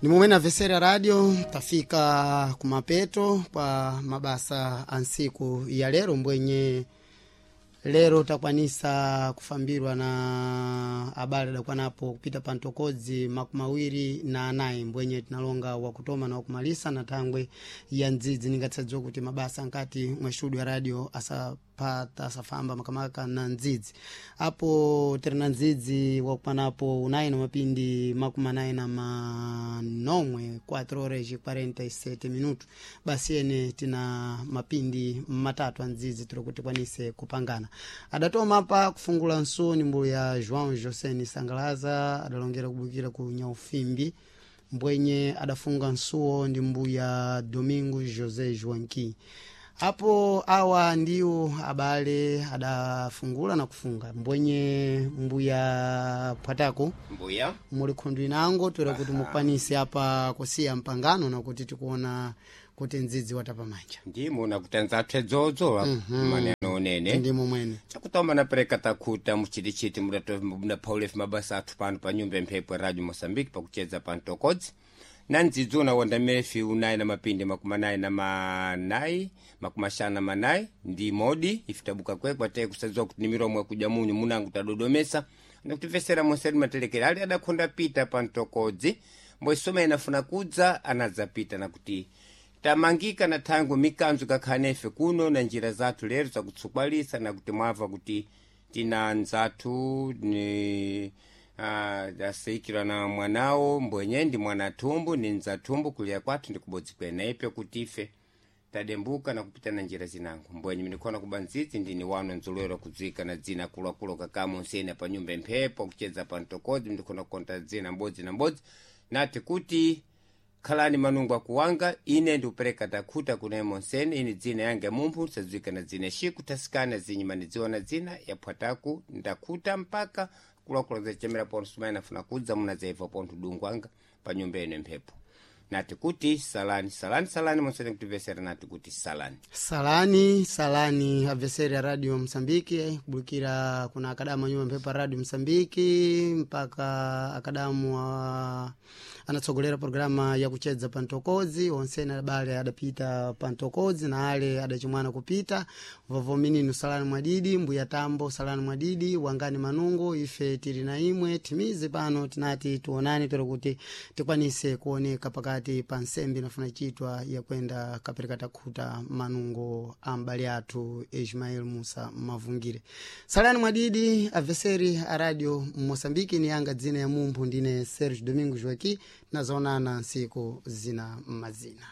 Ni mumene avesera radio tafika kumapeto kwa mabasa a nsiku ya lero mbwenye lero takwanisa kufambirwa na abale adakwanapo kupita pa ntokodzi 24 mbwenye tinalonga wakutoma na wakumalisa na thangwe ya ndzidzi ningatsadziwa kuti mabasa nkati mwa studio ya radio asapata asafamba makamaka na ndzidzi apo tiri na ndzidzi wakukwanapo unayi na mapindi 47 4 horas e 47 minuto basi ene tina mapindi matatu a ndzidzi tiri kuti tikwanise kupangana adatoma pa kufungula nsoni mbulu ya João José Sangalaza adalongera kubukira ku Nyaufimbi mbwenye adafunga nsuwo ndi mbuya Domingo José Joaquim apo awa ndiwo abale adafungula na kufunga mbwenye mbuya Pwatako mbuya muli khundu inango toera kuti mukwanise apa kusiya mpangano nakuti tikuona kuti ndzidzi watapa manja ndimo nakuti anzathu edzodzo maneno onene ndimo mwene chakutoma napereka takhuta muchitichiti mudaphaulefe mabasa athu pano pa nyumba ya mphepo ya radio moçambique pakucheza pa ntokodzi na ndzidzi unawondamefi unayi na mapindi 44 54 ndi modi ife tabuka kwekwe ateye kusadziwa kuti ni miromo yakuja munyu munangu tadodomesa nakutivesera monseri matelekera ali adakhonda pita pa ntokodzi mboisoma inafuna kudza anadzapita nakuti tamangika na thango mikanzo kakhanefe kuno na njira zathu lero zakutsukwalisa nakuti mwava kuti tina nzathu ni aseikirwa na mwanawo mbwenye ndi mwana thumbu ni nzathumbu kuliya kwathu ndi kubodzi kwene ipyo kuti ife tadembuka na kupita na njira zinango mbwenye minikhona kuba ndzidzi ndini wano nzolowera kudzwika na dzina akuluakulu kakamo nsena pa nyumba mphepo kucheza pa ntokodzi mndikhona kukonta dzina mbodzi na mbodzi nati kuti khalani manungu akuwanga ine ndikupereka takhuta kuna monsene ini dzina yange mumphu sadziwika na dzina shiku tasikana zinyima nidziwa na dzina yaphwataku ndakhuta mpaka kulakula zacemera pontho sumayi afuna kudza munadzaiva pontho dungu anga pa nyumba ino mphepo nati kuti salani salani salani monsene kutivesera nati kuti salani salani salani abveseri ya radio msambiki kubulukira kuna akadamu anyumba mphepo ya radio msambiki mpaka akadamu anatsogolera programa ya kuchedza pa ntokodzi onsene abale adapita pa ntokodzi na ale adachimwana kupita vovomininu salani mwadidi mbuya tambo salani mwadidi wangani manungu ife tili na imwe timizi pano tinati tuonane tero kuti tikwanise kuoneka pakati pa nsembe inafuna chitwa yakwenda kapereka takhuta manungo a m'bale athu Ismael Musa Mavungire. Salani mwadidi aveseri a radio Mosambiki ni yanga dzina ya mumphu ndine Serge Domingo Joaqui nazaonana nsiku zina mazina.